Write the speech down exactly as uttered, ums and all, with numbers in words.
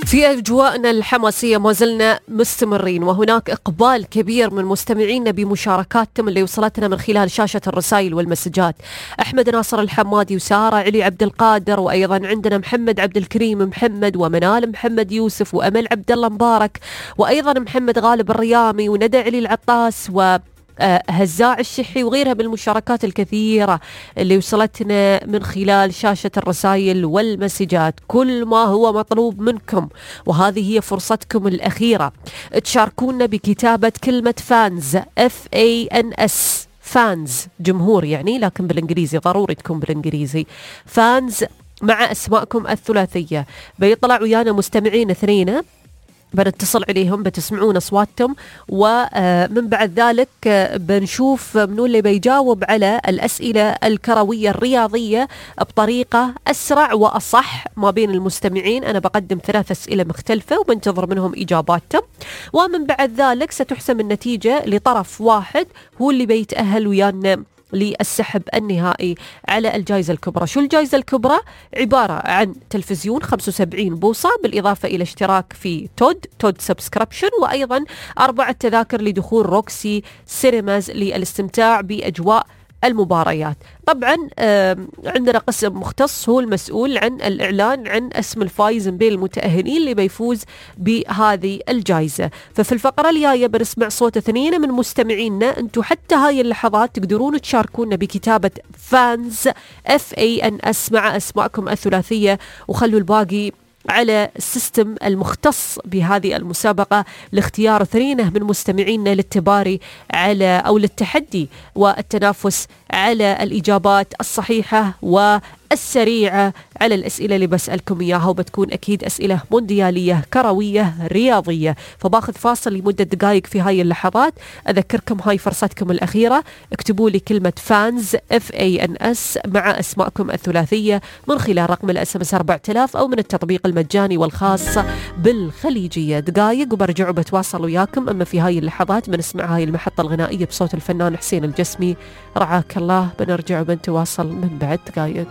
في أجواءنا الحماسية ما زلنا مستمرين، وهناك إقبال كبير من مستمعينا بمشاركاتهم اللي وصلتنا من خلال شاشة الرسائل والمسجات. أحمد ناصر الحمادي وسارة علي عبد القادر، وأيضا عندنا محمد عبد الكريم محمد ومنال محمد يوسف وأمل عبد الله مبارك، وأيضا محمد غالب الريامي وندى علي العطاس و هزاع الشحي وغيرها من المشاركات الكثيرة اللي وصلتنا من خلال شاشة الرسائل والمسجات. كل ما هو مطلوب منكم، وهذه هي فرصتكم الأخيرة، تشاركونا بكتابة كلمة فانز F A N S فانز جمهور يعني، لكن بالإنجليزي ضروري تكون بالإنجليزي فانز مع أسماءكم الثلاثية. بيطلع ويانا مستمعين اثنين بنتصل عليهم بتسمعون أصواتهم، ومن بعد ذلك بنشوف منو اللي بيجاوب على الأسئلة الكروية الرياضية بطريقة أسرع وأصح ما بين المستمعين. أنا بقدم ثلاث أسئلة مختلفة وبنتظر منهم إجاباتهم، ومن بعد ذلك ستحسم النتيجة لطرف واحد هو اللي بيتأهل ويانا للسحب النهائي على الجائزة الكبرى. شو الجائزة الكبرى؟ عبارة عن تلفزيون خمسة وسبعين بوصة، بالإضافة إلى اشتراك في تود تود سبسكريبشن، وأيضا أربعة تذاكر لدخول روكسي سينماز للاستمتاع بأجواء المباريات. طبعا عندنا قسم مختص هو المسؤول عن الإعلان عن اسم الفائز بين المتأهلين اللي بيفوز بهذه الجائزة. ففي الفقرة الجاية بنسمع صوت اثنين من مستمعينا. انتم حتى هاي اللحظات تقدرون تشاركونا بكتابة فانز F A N S مع أسماءكم الثلاثية، وخلوا الباقي على السيستم المختص بهذه المسابقة لاختيار اثنين من مستمعينا للتباري على أو للتحدي والتنافس على الإجابات الصحيحة والسريعة على الأسئلة اللي بسألكم إياها، وبتكون أكيد أسئلة مونديالية كروية رياضية. فباخذ فاصل لمدة دقائق في هاي اللحظات. أذكركم هاي فرصتكم الأخيرة، اكتبوا لي كلمة فانز F A N S مع أسماءكم الثلاثية من خلال رقم الاس ام اس أربعة آلاف أو من التطبيق المجاني والخاص بالخليجية. دقائق وبرجع بتواصل وياكم. أما في هاي اللحظات بنسمع هاي المحطة الغنائية بصوت الفنان حسين الجسمي، رعاك الله. بنرجع وبنتواصل من بعد دقائق.